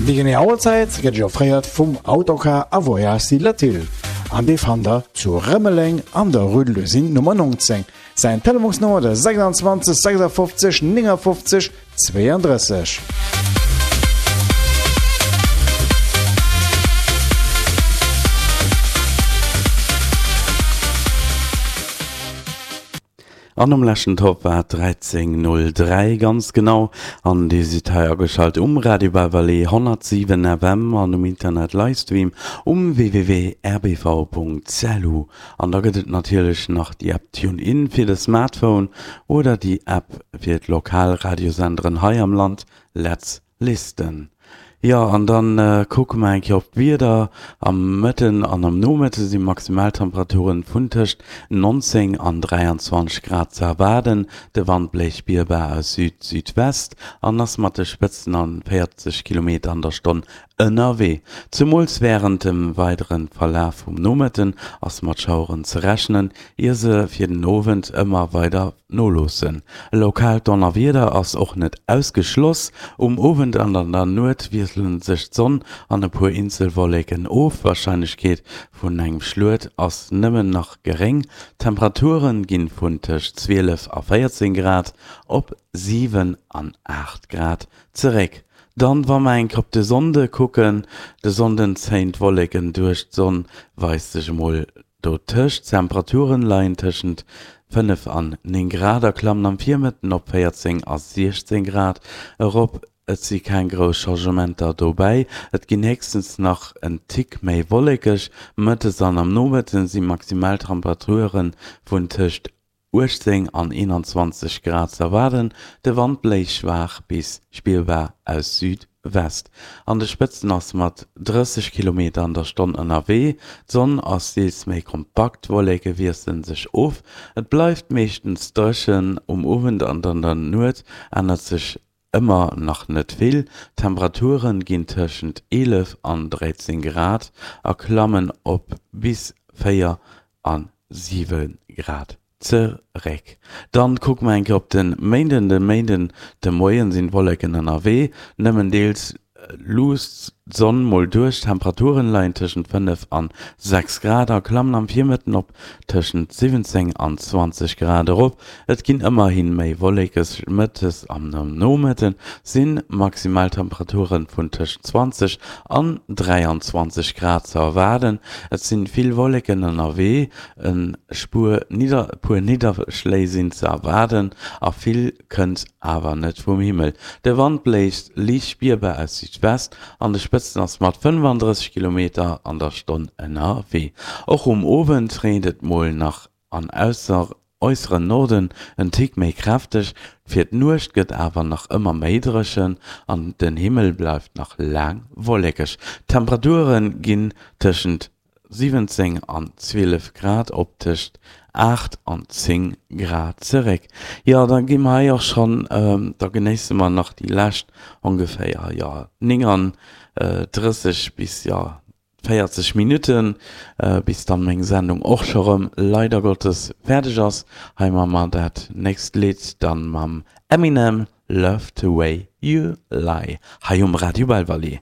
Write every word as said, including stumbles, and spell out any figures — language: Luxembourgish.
Déi genee Auerzäit gëtt Iech offréiert vum Autocar a Voyage Latil. An dee fannt der zu Rëmeleng an der Rue de l'Usine Nummer neunzéng. Säin Telefonsnummer der sechsundzwanzeg sechsundfünfzig neunundfünfzig zweiunddrësseg. An um leschten Top war et dräizéng null dräi ganz genau an Dir sidd hei ageschalt um Radio Belval honnertsiwen F M an um Internet Livestream um W W W punkt R B V punkt L U. An da gëtt et natierlech nach déi App TuneIn fir de Smartphone oder déi App fir d'lokal Radiosenderen hei am Land Let's Listen. Jo, an dann kucke mer eng Kéier op d'Wieder. Am Mëtten an am Nomëtte si Maximaltemperaturen vun tëscht neunzéng an dräianzwanzeg Grad ze erwaarden. De Wand bléist spierbar aus Süd-Südwest an ass mat de Spëtzen an véierzeg Kilometer an der Stonn ënnerwee. Zemools wärend dem weidere Verlaf vum Nomëtten ass mat Schaueren ze rechnen, ier se fir den Owend ëmmer weider noloossen. E lokaalt Donnerwieder ass och net ausgeschloss. Um Owend an an der Nuet wiessele sech d'Sonn an e puer eenzel Wolleken of, d'Warscheinlechkeet vun engem Schluet ass nëmmen nach geréng. D'Temperature gi vun tëscht zwielef a véierzéng Grad op siwen an aacht Grad zeréck. Dann, wa mer eng Kéier op de Sonnde kucken, de Sonnden zéien d'Wolleken duerch, d'Sonn weist sech emol dotëscht. D'Temperaturen leien tëschent fënnef an néng Grad a klammen am Virmëtten op véierzéng a siechzéng Grad erop. Et si keng grouss Changementer dobäi, et ginn héchstens nach en Tick méi wollekeg. Mëttes an am Nomëtten si Maximaltemperature vun tëscht uechtzéng an eenanzwanzeg Grad ze erwaarden, de Wand bléist schwaach bis spierbar aus Südwest. An de Spëtzen ass mat drësseg Kilometer an der Stonn ënnerwee. D'Sonn ass deels méi kompakt, d'Wolleke wiessele sech of, et bleift meeschtens dréchen. Um Owend an an der Nuet ännert sech ëmmer nach net vill, d'Temperature ginn tëschent eelef an dräizéng Grad a klammen op bis véier a siwe Grad zeréck. Dann kucke mer eng Kéier op de Méinden. De Méinden de Moien sinn d'Wolleken ënnerwee, nëmmen deels luusst d'Sonn mol duerch. D'Temperaturen leien tëschent fënnef an sechs Grad a klammen am Virmëtten op tëschent siwwenzéng an zwanzeg Grad erop. Et ginn ëmmerhi méi wollekeg, mëttes an am Nomëtte si Maximaltemperature vun tëschent zwanzeg an dräianzwanzeg Grad ze erwaarden. Et si vill Wolleken ënnerwee, e Spuer puer Nidderschléi sinn ze erwaarden a vill kënnt awer net vum Himmel. De Wand bléist liicht spierbar aus Südwest, an de Spëtzen ass mat fënnefandrësseg Kilometer an der Stonn ënnerwee. Och um Owend reent et mol nach an äusseren Norden en Tick méi kräfteg. Fir d'Nuecht gëtt awer nach ëmmer méi dréchen an den Himmel bleift nach laang wollekeg. D'Temperature ginn tëschent siwwenzéng an zwielef Grad op tëscht aacht an zéng Grad zeréck. Jo, da gi mer hei och schonn, da genéisse mer nach déi lescht ongeféier, jo, nénganddrësseg bis, jo, véierzeg Minutten, bis dann meng Sendung och scho rëm leider Gottes fäerdeg ass. Hei hu mer dat nächst Lidd dann mam Eminem, Love the Way You Lie, hei um Radio Belval.